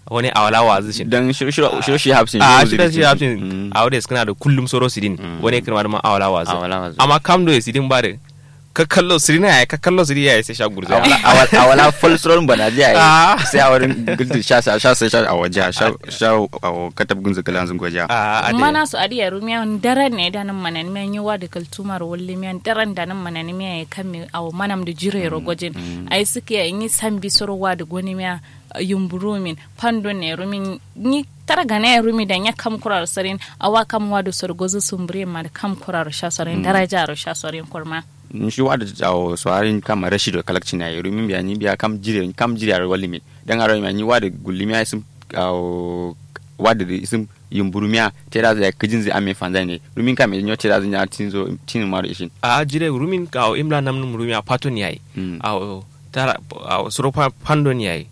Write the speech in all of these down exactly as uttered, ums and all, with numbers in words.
Wani awala wazǝ shin dan shiro shiro shi hafsin a shiro shi hafsin. Awo da iskǝna da kullum soro sidin wani kǝrma da ma awala wazǝ. Amma kam do sidin ba da kakkallo sidin yayi kakkallo sidin yayi sai sha gurza. Awala fal soro bana ji yayi sai awala gulti sha sha sha sai sha awaja sha sha awo katab gunzu kalanzu goja. Mana su adi yaru miya ndaran ne da nan manan miya nyi wa da kaltumar walli miya ndaran da nan manan miya ya kamme awo manam da jire ro gojin. Ai suke ya nyi sambi soro wa da goni miya yumburumin fando ne rumin nyi tara gana ya rumi da nya kam kuraro sarin. Awa kam wa da sorgozu sumbure ma da kam kuraro sha sarin daraja ro sha sarin kurma. Nshi wa da awo soarin kam rashido kalakcin yayi rumin biya nyi biya kam jire kam jire ro wallimin dan aro miya nyi wa da gullimiya isum awo wa da isum yumburumiya tera zai kijin zai ame fanzai ne rumin kam nyo tera zai nya tinzo tinin maro ishin. A jire rumin awo imla namnum rumiya faton yayi. Awo tara awo suro fandon yayi.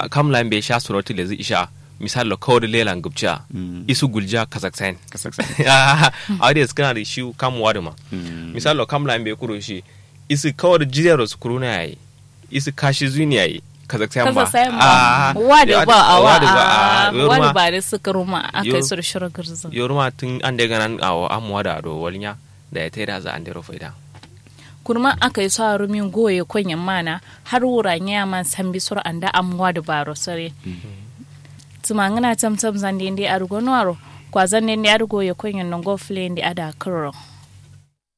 Kam la mbe sha suro tile zai isha. Misal lo kawo da lela ngubciya isu guljiya kasaksain. Awo da iskana da shi kam wadu ma. Misal lo kam la mbe kuro shi isu kawo da jire ro su kuruna yayi. Isu kashi zuni yayi kasaksain ba. Wadu ba awa wadu ba da suka ruma aka yi sur shiro girzin. Yoruma tun an da ganan awo am wadu ado walnya da ya taida za an dero faida. Kurma aka yi so a rumin goye konyen mana har wura nya man sambi soro anda am wadu baro sare. Tuma ngana tam tam zande nde arugo nuaro kwa zande nde arugo ye konyen nongo fule nde ada kuro.